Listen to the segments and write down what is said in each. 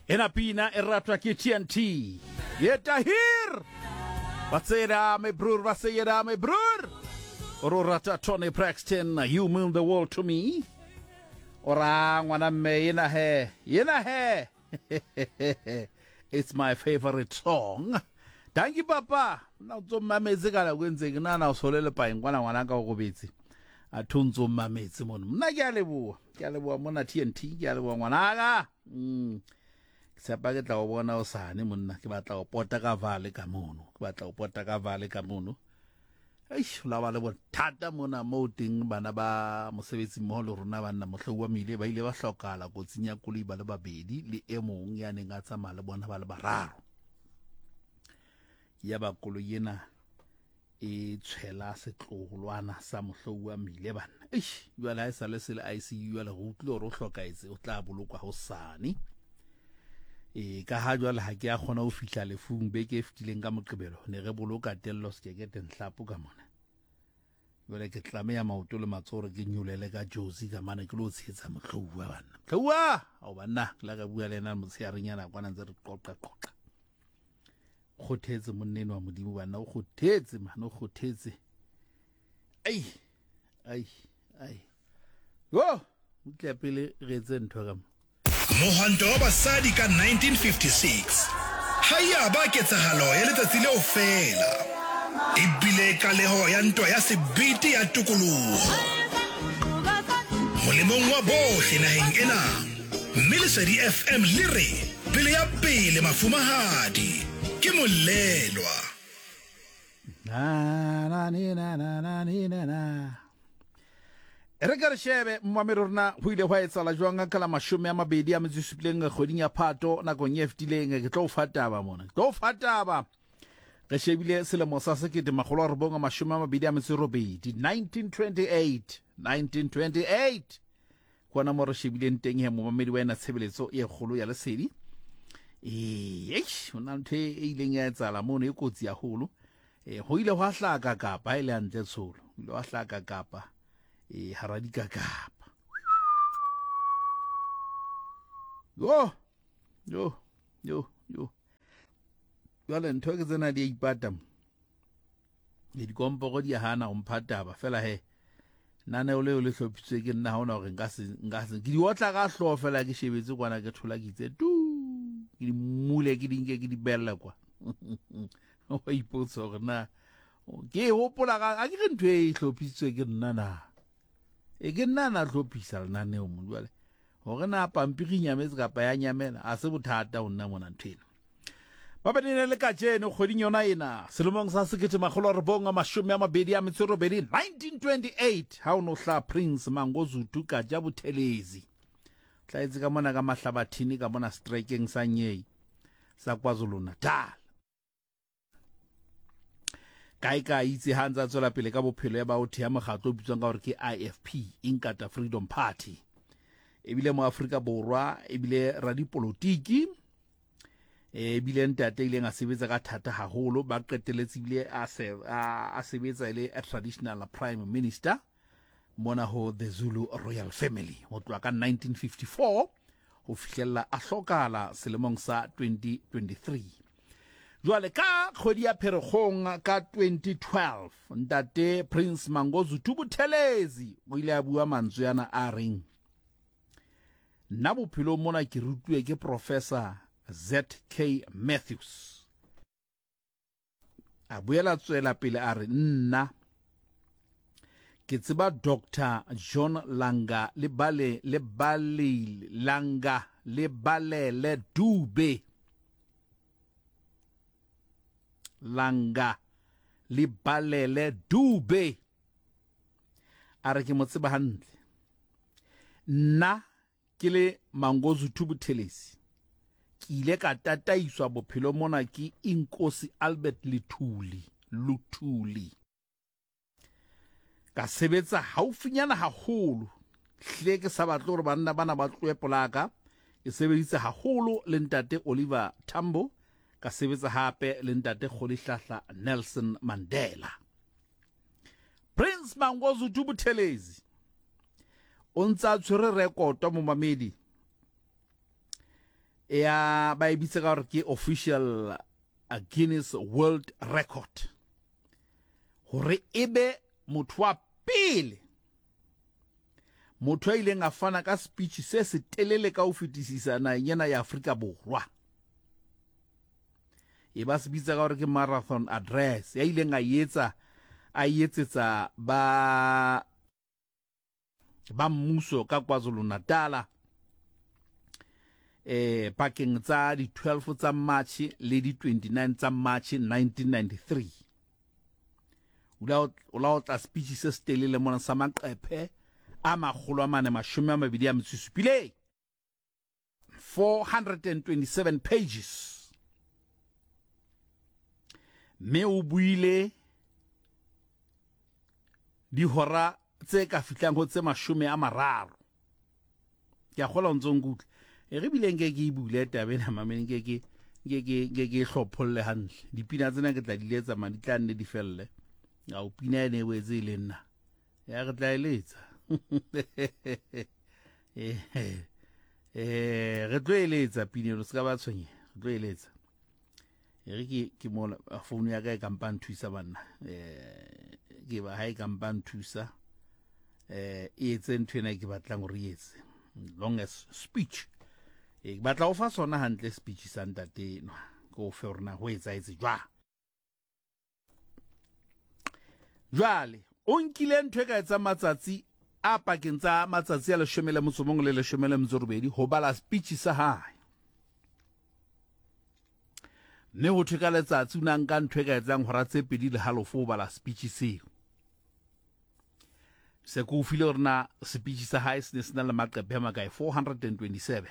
Ena pina e ratwa ke TNT. Ye Tahir. Ba tsena my broer, ba seyeda my broer. O re o rata Toni Braxton, You Mean the World to Me. O ra ngwana mme yena he, yena he. It's my favorite song. Dankie papa. Nna o tso mmametse ka nako e ntse ke nana o sole lepaeng kwana ngwana ka o robetse. A tho ntso mmametse mono. Mna ke a leboha. Ke a leboha mona TNT, ke a leboha ngwanaka. Mm. Ke tshepa ke tla o bona o sane monna, ke batla o pota ka vale ka mono. Ke batla o pota ka vale ka mono. Eish, la ba le bothata mona moo teng bana ba mosebetsi mmoho le rona banna mohlouwa mile ba ile ba hlokala kotsing ya koloi ba le babedi le e mong ya neng a tsamaya le bona ba le bararo. Ya ba koloi ena e tshwela setloholwana sa mohlouwa mile banna. Eish, jwale ha e sa le se le ICU jwale re utlwile hore o hlokahetse o tla bolokwa hosane. E, ka ha jwale ha ke a kgona ho fihla lefung beke e fetileng ka Moqebelo, ne re boloka Tello Sekekete Nhlapo ka mona. Jwale ke tlameha maoto le matsoho hore ke nyolele ka Jozi ka mane ke lo tshehetsa Mohlouwa banna. Mohlouwa! Ao banna, ke la ka bua le yena motsheareng yana kwana ntse re qoqa qoqa. Kgothetse monna enwa wa Modimo banna, o kgothetse man, o kgothetse. Ai, ai, ai. Yo, utlwa pele re etse ntho ka mo. Mohwanto wa basadi ka 1956 ga ya ba ketsahalo ya letsatsi leo feela, e bile qaleho ya ntwa ya sebete ya tokoloho molemong wa bohle naheng ena, mme Lesedi FM le re pele ya pele mafumahadi ke molelwa. Na, na, ni, na, na, na, ni, na, na. E re ka re shebe mmamedi rona go ile gwa etsala jwang ka la 27 kgweding ya Phato nakong e fetileng. Ke tlo o fa taba mona, ke tlo o fa taba. Re shebile selemo sa 1928, 1928, 1928 kona mo re shebileng teng he momamedi wa ena tshebeletso e kgolo ya lesedi. Ee, eish, ho na ntho e ileng ya etsala mono e kotsi haholo. E, go ile gwa hlaka kapa e le hantle tsholo, go ile gwa hlaka kapa e hara dikakapa. Yo, yo, yo, yo. Jwale ntho ke tsena di a ipata mo. Le dikomporo di a hana ho mpha taba fela he. Naneo leo le hlophisitswe ke nna, ha hona hore nka se nka se ke di otla ka hlooho fela, ke shebetse kwana ke thola ke itse tu, ke di mule ke di nke ke di bella kwa. Wa ipotsa hore na ke e hopola ka a ke re ntho e hlophisitswe ke nna na. E ke nna na hlophisa lenaneo mo jwale. Hore na pampiri nyametse kapa ya nyamela, a se bothata ho nna mona ntho ena. Ba bene le kajeno kgweding yona ena selemong sa 1928, 1928 ha o no hla Prince Mangosuthu Kaja Buthelezi. Tlaetse ka mona ka Mahlabathini ka mona strekeng sa Nyei sa KwaZulu-Natal. Kae ka itse ha ntse a tswela pele ka bophelo ya ba o thea mokgatlo o bitswang ka hore ke IFP, Inkatha Freedom Party. Ebile mo Afrika Borwa ebile radipolotiki ebile ntate ileng a sebetsa ka thata haholo, ba qeteletse ebile a se a sebetsa e le a traditional prime minister mona ho the Zulu Royal Family ho tloha ka 1954 ho fihlella a hlokala selemong sa 2023. Jwale ka kgwedi ya Pherekgong ka 2012 ntate Prince Mangosuthu Buthelezi o ile a bua mantswe ana a reng, nna bophelong mona ke rutuwe ke Professor ZK Matthews. A boela tswela pele a re, nna ke tseba Doctor John Langa le bale le bale Langa le balele Dube. Langa le balele Dube. A re ke mo tseba hantle. Nna ke le Mangosuthu Buthelezi, ke ile ka tataiswa bophelo mona ke Inkosi Albert Lithuli, Luthuli. Ka sebetsa haufinyana haholo, hle ke sa batle hore banna bana ba tlohe polaka. Ke sebeditse haholo le ntate Oliver Tambo, ka sebetsa hape le ntate Rolihlahla Nelson Mandela. Prince Mangosuthu Buthelezi o ntse a tshwere rekoto momamedi. Ya ba e bitsa ka gore ke official Guinness World Record gore e be motho wa pele motho a ileng a fana ka speech se se telele ka ho fetisisa naheng ena ya Afrika Borwa. E ba se bitsa ka gore ke marathon address ya ileng a etsa a etsetsa ba ba mmuso ka KwaZulu-Natal eh pakeng tsa di 12 tsa March le di 29 tsa March 1993. O la o tla speech se se telele mona sa maqephe a makgolo a mane mashome a mabedi a metso e supileng, 427 pages, mme o buile dihora tse ka fihlang ho tse 30. Ke a kgola o ntso nkutlwa. E re bile nke ke e bule taba ena mameng, nke ke nke ke nke ke hlopholle hantle. Dipina tsena ke tla di letsa man, di tla nne di felle. Ao pina ene e wetse e le nna. Ya re tla e letsa. Re tlo e letsa pina eno, se ka ba tshwenyeha. Re tlo e letsa. E re ke ke mola phone ya ka e kampa nthusa banna. Ke ba ha e kampa nthusa. E etse ntho ena ke batlang hore e etse. Longest speech. Ke batla ho fa sona hantle speech sa ntate enwa. Ke o fe hore na ho etsahetse jwang. Jwale o nkile ntho e ka etsang matsatsi a pakeng tsa matsatsi a 11 le 18 ho bala speech sa hae. Mme ho thwe ka letsatsi o na nka ntho e ka etsang hora tse pedi le halofo ho bala speech seo. Se ke o file hore na speech sa hae se ne se na le maqephe a makae, 427.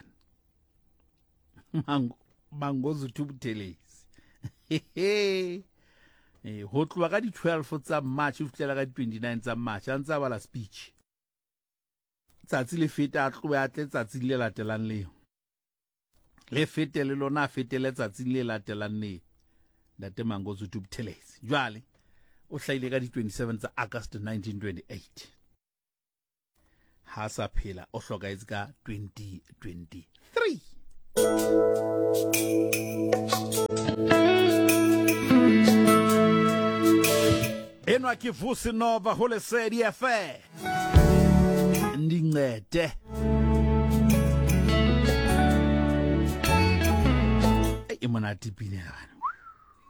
Mangosuthu Buthelezi. Ho tloha ka di 12 tsa March ho fihlela ka di 29 tsa March a ntse a bala speech. Tsatsi le feta a tlohe a tle tsatsing le latelang leo. Le fete le lona a fetele tsatsing le latelang leo. Ntate Mangosuthu Buthelezi. Jwale o hlahile ka di 27 tsa August 1928. Ha sa phela o hlokahetse ka 2023. Enwa ke Vusi Nova ho Lesedi FM. Ndincede. E monate pina ya bana.